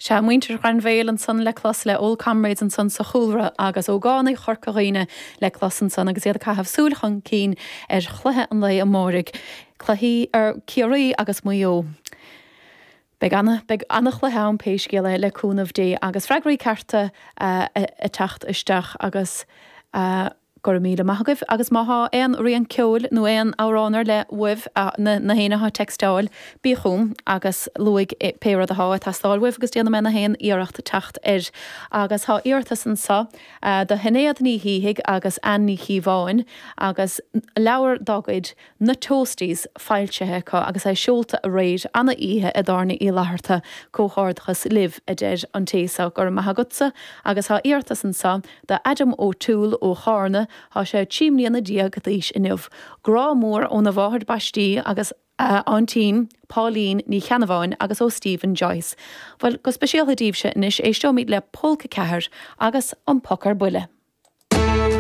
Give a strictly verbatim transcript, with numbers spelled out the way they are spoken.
Sea, muintir Ghrainbhéil ansan le clos le Old Comrades ansan sa chúlra agus ógánaigh Chorca Dhuibhne le clos ansan agus iad ag caitheamh súil chun cinn ar chluiche an lae amáirigh, cluichí ar Ciarraí agus Maigh Eo. Beidh ana beidh an-chluiche ann pé scéal é le cúnamh Dé agus freagraí cearta ag teacht isteach agus go raibh míle maith agaibh agus má thá aon rian ceoil nó aon amhrán ar leith uaibh na na héinne atá ag textáil bí chugam agus luaigh pé rud athá ag teastáil uaibh agus déanfaidh mé na haon iarracht teacht air. Agus thá iarratas anso do Shinéad Ní Shíthigh agus Anne Ní Chíobháin agus leabhar dá gcuid Na Toasties foilsithe acu agus é seolta aréir ana oíche i dTábhairne Uí Fhlatharta. Comhghairdeachas libh, a deir an té so. Go raibh maith agatsa. Agus tá iarratas anso do Adam O'Toole ó Chárna, tá sé trí mbliana déag d'aois inniu. Grá mór óna mháthair baistí agus a aintín Pauline Ní Cheannabháin agus ó Stephen Joyce. Bhuel, go speisialta daoibhse anois éisteoimid le Pólca Ceathair agus An Poc ar Buile.